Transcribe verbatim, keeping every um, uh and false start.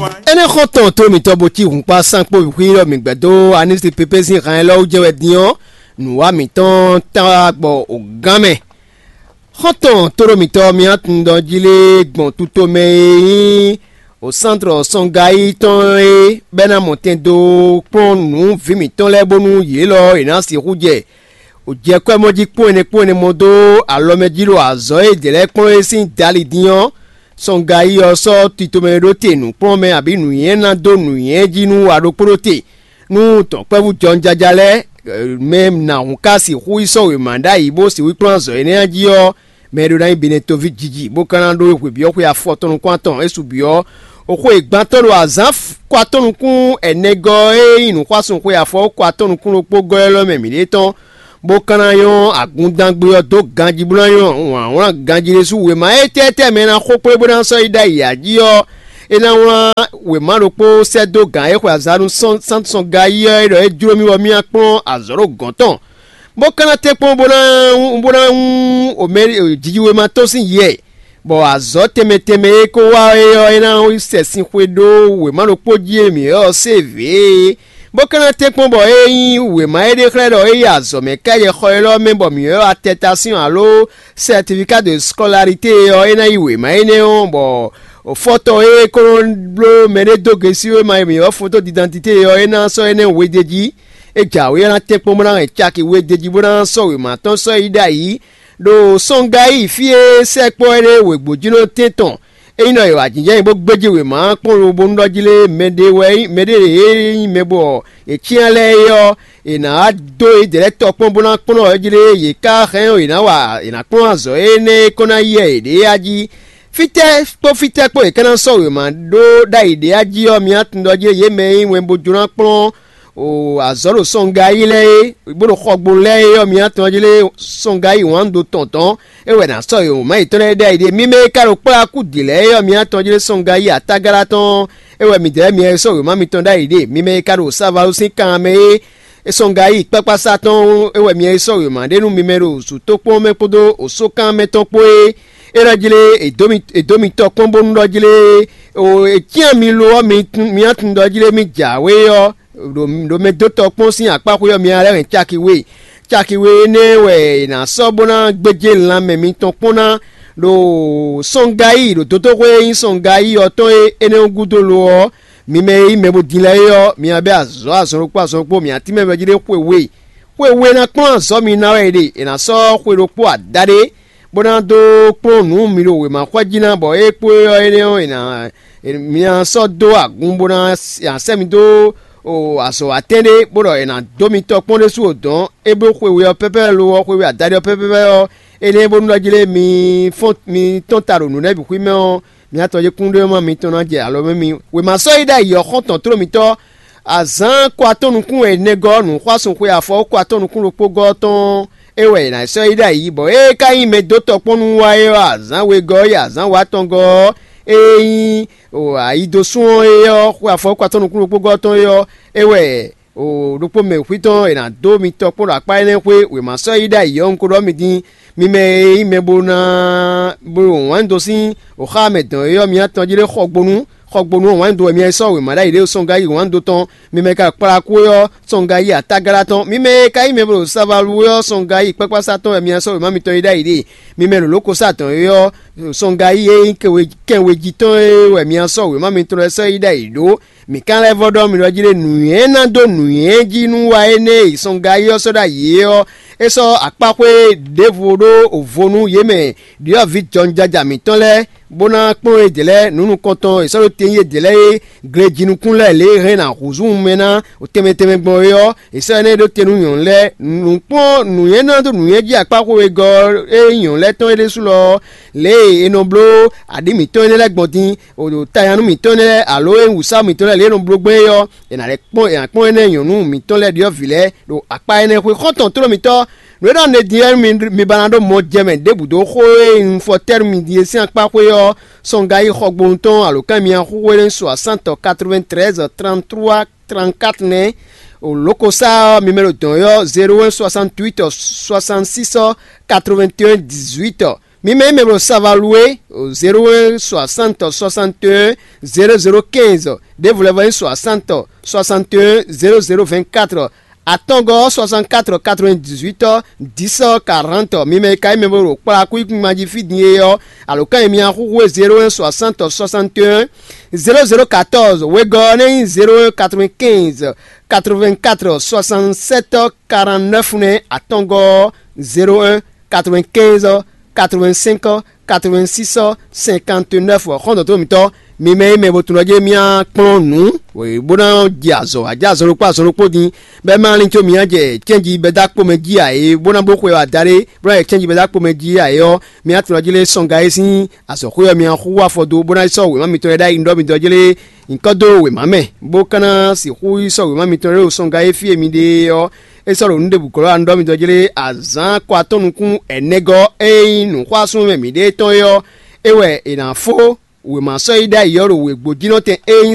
Énɛ́ xɔ́ntɔn tó mǐtɔn bo cí hǔnkpá sánkpó xwíxwí ɔ́, mǐ gbɛ́ dó Anísi Pépé sín han élɔ́ wú jɛ wɛ din ɔ́, nǔwá mǐtɔn táwa gbɔ o gán mɛ. Xɔ́ntɔn tóɖó mǐtɔn Miatundɔn jí lé gbɔn tutomɛ e nyí o sántrɔ sɔngayi tɔn é bɛ́ ná mɔ tɛn dó kplɔ́n nǔ vǐ mǐtɔn lɛ́ɛ bónú yě lɔ è nǎ sixú jɛ o jɛ kwɛ́mɔ jí kpɔ́n ɛnɛ kpɔ́n ɛnɛ mɔ dó alɔ mɛ jí ɖo azɔ̌ e è dě lɛ́ɛ kplɔ́n é sín dali dín ɔ́, sɔngayi ɔ́ sɔ́ titomɛ ɖó te nǔkplɔ́nmɛ abǐ nǔnywɛ́ ná dó nǔnywɛ́ jí nú a ɖokpó ɖó te. Nú dɔ̌nkpɛ́vú jɔnjaja lɛ́ɛ mɛ nǎhún ka sixú yi sɔ́ wěma ɖ'ayǐ bó sixú kplɔ́n azɔ̌ énɛ́ jí ɔ́, mɛ e ɖó ná nyí Benɛtoví jiji bó ka ná ɖó hwe byɔ́ xwe afɔtɔn nukún atɔn é su byɔ́ xwe gbantɔ́ ɖo azǎn kɔ atɔn nukún ɛnɛgɔ́ e nyí nǔxwásún xwe afɔ kɔ atɔn nukún ɖokpó gɔ́ élɔ́ mɛ mǐɖée tɔn, bó ka ná nyɔ́ agundángbe ɔ́ dó ganjí bó ná nyɔ́ wlǎnwlán ganjí ɖésú wěma étɛ́tɛ́ mɛ e ná xo kplé bó ná sɔ́ yi ɖ'ayǐ ǎ jí ɔ́, é ná wlán wěma ɖokpó sɛ́ dó gǎn e xwe azǎn nú sɔ́nsɔ́n gayi ɔ́ é ɖɔ é jló mì bɔ mì ná kplɔ́n azɔ̌ ɖo gɔ̌n tɔn, bó ka ná tɛ́nkpɔ́n bó ná bó ná wún omɛ jijiwéma tɔn sín yɛ, bɔ azɔ̌ tɛnmɛ tɛnmɛ e ko wá é ɔ́, é ná sɛ sin xwe ɖó wěma ɖokpó jí e mǐ ɔ́ se vě é, bó ka ná tɛ́nkpɔ́n bɔ é nyí wěma e ɖe xlɛ́ ɖɔ é yi azɔ̌ mɛ káyɛ xɔ élɔ́ mɛ bɔ mǐ ɔ́ atɛtasíɔn alo sɛtifiká de skɔlalité ɔ́, é ná yi wěma énɛ́ ɔ́, bɔ fɔ́tɔ́ e ko nɔ bló mɛɖé dó gěsíwéma e mǐ ɔ́ fótó didantité ɔ́, é ná sɔ́ énɛ́ we d'é jí. É jǎwe ɔ́ ná tɛ́nkpɔ́n bó ná hɛn caki we d'é jí bó ná sɔ́ wěma tɔn sɔ́ yi ɖ'ayǐ ɖo sɔngayi fí e sɛkpɔ́ énɛ́ wěgbó jí nɔ tɛ́n tɔn. Ényí ɖɔ è wa jǐnjɛ́n nyi bó gbéjí wěma ɔ́ kpɔ́n lobo nɔ jí lé mɛɖé wɛ mɛɖé e nyí mɛ bɔ è cyán lɛ́ɛ é ɔ́, è nǎ wá dó yědɛɛ lɛ́ɛ tɔkpɔ́n bó ná kplɔ́n ɔ́ jí lé yě ká hɛn yě ná wa yě ná kplɔ́n azɔ̌ énɛ́ e ko ná yɛ yěɖée a jí. Fítɛ́ kpó fítɛ́ kpó è ka ná sɔ́ wěma ɖó ɖ'ayǐ ɖé a jí ɔ́, mi ná tunwun ɖɔ jí yě mɛ e nyí wɛn bó jló ná kplɔ́n o azɔ̌ ɖo sɔngayi lɛ́ɛ é, bó ɖo xɔgbonu lɛ́ɛ é ɔ́, mi ná tunwun ɔ́ jí lé sɔngayi wǎn do tɔn tɔn é wɛ è nǎ sɔ́ wěma yětɔn lɛ́ɛ ɖ'ayǐ ɖe. Mi mɛ e ka ɖo kplɔ́ akú dǐ lɛ́ɛ é ɔ́, mi ná tunwun ɔ́ jí lé sɔngayi atágala tɔn é wɛ midɛɛ mi e sɔ́ wěma mitɔn ɖ'ayǐ ɖe. Mi mɛ e ka ɖo savalo sín kan mɛ é, sɔngayi kpákpása tɔn é wɛ mi e sɔ́ wěma ɖe nú mi mɛ ɖo zǔtókpɔ́n mɛ kpódó osókan mɛ tɔn kpó é. É nɔ jlé è dǒ mi tɔ kpɔ́n bónú ɖɔ jlé è cyán mi lo ɔ́, mi ná tunwun ɖɔ jlé mì jǎwe ɔ́, ɖo mɛ dó tɔ kpɔ́n sín akpáxwé ɔ́, mi ná lɛ́ hɛn caki we. Caki we énɛ́ wɛ è nǎ sɔ́ bó ná gbéjé lanmɛ mitɔn kpɔ́n ná ɖo sɔngayi ɖo dotóxwé e nyí sɔngayi ɔ́ tɔn é énɛ́ ɔ́ gúdo lo ɔ́, mi mɛ e nyí mɛ bo din lɛ́ɛ é ɔ́, mi ná bɛ́ azɔ̌ azɔn ɖokpó azɔn ɖokpó, mǐ ná tínmɛ vɛ jí ɖé xwe we. Xwe we ná kplɔ́n azɔ̌ mi ná wɛ è ɖe; è nǎ sɔ́ xwe ɖokpó adaɖé bó ná dó kplɔ́n nǔ mi ɖo wěmaxɔ́ jí ná, bɔ é kpó é ɔ́ énɛ́ ɔ́, è nǎ mi ná sɔ́ dó agun bó ná sɛ́ mi dó azɔ̌watɛ́n ɖé, bó ɖɔ è nǎ dó mi tɔkpɔ́n ɖésú o dɔ̌n. É bló xwe we ɔ́ pɛ́pɛ́ lo ɔ́, xwe we adaɖé ɔ́ pɛ́pɛ́ ɔ́, énɛ́ bónú ɖɔ jí lé mi fɔ́n mi tɔ́n ta ɖo nǔɖé bǐ xwí mɛ ɔ́, mi atɔn jí kúnɖéwúma mitɔn ná jɛ alɔ mɛ mi. Wěma sɔ́ yi ɖ'ayǐ ɔ́ xɔ́ntɔn tlóló mitɔ́ azǎn kɔ atɔ́ nukún wɛ nɛgɔ́ nǔxwásún xwe afɔ kɔ atɔ́ nukún ɖokpó gɔ́ tɔn é wɛ è nǎ sɔ́ yi ɖ'ayǐ, bɔ é ka nyí mɛ dó tɔkpɔ́n nú wa é ɔ́, azǎn wegɔ́ ɔ́ yi azǎn wǎtɔn gɔ́ ɔ́, é nyí ayidosún ɔ́ é ɔ́, xwe afɔ kɔ atɔ́ nukún ɖokpó gɔ́ tɔn é ɔ́, é wɛ ɖokpó mɛ xwítɔn è nǎ dó mi tɔkpɔ́n ɖo akpá énɛ́ xwé. Wěma sɔ́ yi ɖ'ayǐ ɔ́, un ko ɖɔ mi din, mi mɛ e nyí mɛ bó ná bó ɖo wǎn dó sín xá mɛ dɔn é ɔ́, mi atɔn jí ɖé xɔgbónú. Xɔgbónú ɔ́, wǎn dó wɛ mi wɛ sɔ́ wěma ɖ'ayǐ ɖé sɔ́ngayi wǎn dó tɔn. Mi mɛ ka kplá kú é ɔ́, sɔ́ngayi atágala tɔn. Mi mɛ e ka nyí mɛ bó ɖo savalu é ɔ́, sɔ́ngayi kpákpása tɔn wɛ mi wɛ sɔ́ wěma mitɔn yi ɖ'ayǐ ɖe. Mi mɛ ɖo lǒkosá dɔn é ɔ́, sɔ́ngayi e nyí kɛnwejitɔ́n é wɛ mi wɛ sɔ́ wěma mitɔn lɛ́ɛ sɔ́ yi ɖ'ayǐ ɖó. Mǐ ka lɛ́ vɔ́ ɖɔ mi ɖɔ jí ɖé nǔnywɛ́ ná dó nǔnywɛ́ jí nú wa énɛ́ e sɔ́ngayi ɔ́ sɔ́ ɖ'ayǐ é ɔ́, é sɔ́ akpáxwé ɖěvo ɖó vo nú yě mɛ ɖyɔ̌vǐ jɔnjaja mǐtɔn lɛ́ɛ, bó ná kplɔ́n yědɛɛ lɛ́ɛ nǔ nukɔntɔn e è sɔ́ ɖó te nyi yědɛɛ lɛ́ɛ é, glejinukún lɛ́ɛ lě e hɛn ná hǔzú wunmɛ ná tɛnmɛ tɛnmɛ gbɔn é ɔ́, è sɔ́ énɛ́ ɖó te nú nyɔ̌nu lɛ́ɛ. Nǔkplɔ́n nǔnywɛ́ ná dó nǔnywɛ́ jí akpáxwé wegɔ́ e nyí nyɔ̌nu lɛ́ɛ tɔn é ɖésú lɔ ɔ́, lě e è nɔ bló aɖǐ mǐtɔn énɛ́ lɛ́ɛ gbɔn din, ɖo tayanu mǐtɔn énɛ́ lɛ́ɛ alo e nyí wǔsáwú mǐtɔn lɛ́ɛ lě e è nɔ bló gbɔn é ɔ́, è nǎ lɛ́ kpɔ́n è nǎ kpɔ́n énɛ́ nyɔ̌nu mǐtɔn lɛ́ɛ ɖyɔ̌vǐ lɛ́ɛ ɖo akpá énɛ́ xwé. Xɔ́ntɔn tlóló mǐtɔn, nǔ e ɖɔ un ɖe din ɔ́, mi ba ná ɖó mɔ jɛ mɛ ɖěbǔ dó xó e un fɔ tɛ́ nú mi din é sín akpá xwé ɔ́, sɔngayi xɔgbónu tɔn alǒkan e mi nɔ xúxú é nɛ́ soixante quatre-vingt-treize trente-trois trente-quatre nɛ́. Lǒkosá ɔ́, mi mɛ ɖo dɔ̌n ɔ́, zéro un soixante-huit soixante-six quatre-vingt-un dix-huit. Mi mɛ e mɛ ɖo Savalue o zéro un soixante soixante un zéro zéro quinze, ɖěvo lɛ́ vɔ nyí soixante soixante un zéro zéro vingt-quatre, atɔngɔ́ soixante-quatre quatre-vingt-dix-huit dix quarante. Mi mɛ e ka nyí mɛ e ɖo kplá kúkúngban jí fí din é ɔ́, alǒkan e mi nɔ xúxú é zéro un soixante soixante un zéro zéro quatorze, wegɔ́ ɔ́ nɛ́ nyí zéro un quatre-vingt-quinze quatre-vingt-quatre soixante-sept quarante-neuf nɛ́, atɔngɔ́ zéro un quatre-vingt-quinze quatre-vingt-cinq quatre-vingt-six cinquante-neuf. Xɔ́ntɔn tó mǐtɔn, mi mɛ e mɛ bo tunwun ɖɔ jɛ́n mì kplɔ́n nǔ bó ná jɛ azɔ̌ wá jɛ azɔn ɖokpó azɔn ɖokpó din, bɔ é ma lín có mǐ ná jɛ cɛ́nji bɛ́ dó akpo mɛ jí ǎ é, bó ná bló xwe ɔ́ adaɖé, bó ná jɛ cɛ́nji bɛ́ dó akpo mɛ jí ǎ é ɔ́, mì ná tunwun ɖɔ jlé sɔ́nga e sín azɔ̌xwé ɔ́ mi ná xúxú afɔ dó, bó ná yi sɔ́ wěma mitɔn e ɖ'ayǐ ɖɔ mi dɔ́ jlé nyǐkɔ dó wěma mɛ, bó ka ná sixú yi sɔ́ wěma mitɔn ɖé ɖo sɔnga e fí e mi ɖe é ɔ́, é sɔ́ ɖo nǔ ɖěbǔ glɔ́ anú ɖɔ mi dɔ́ jlé azǎn kɔ atɔ́ nukún ɛnɛgɔ́ e nyí nǔxwásún mɛ mǐɖée tɔn é ɔ́, é wɛ è nǎ fó wěma sɔ́ yi ɖ'ayǐ ɔ́ ɖo wěgbójínɔtɛn e nyí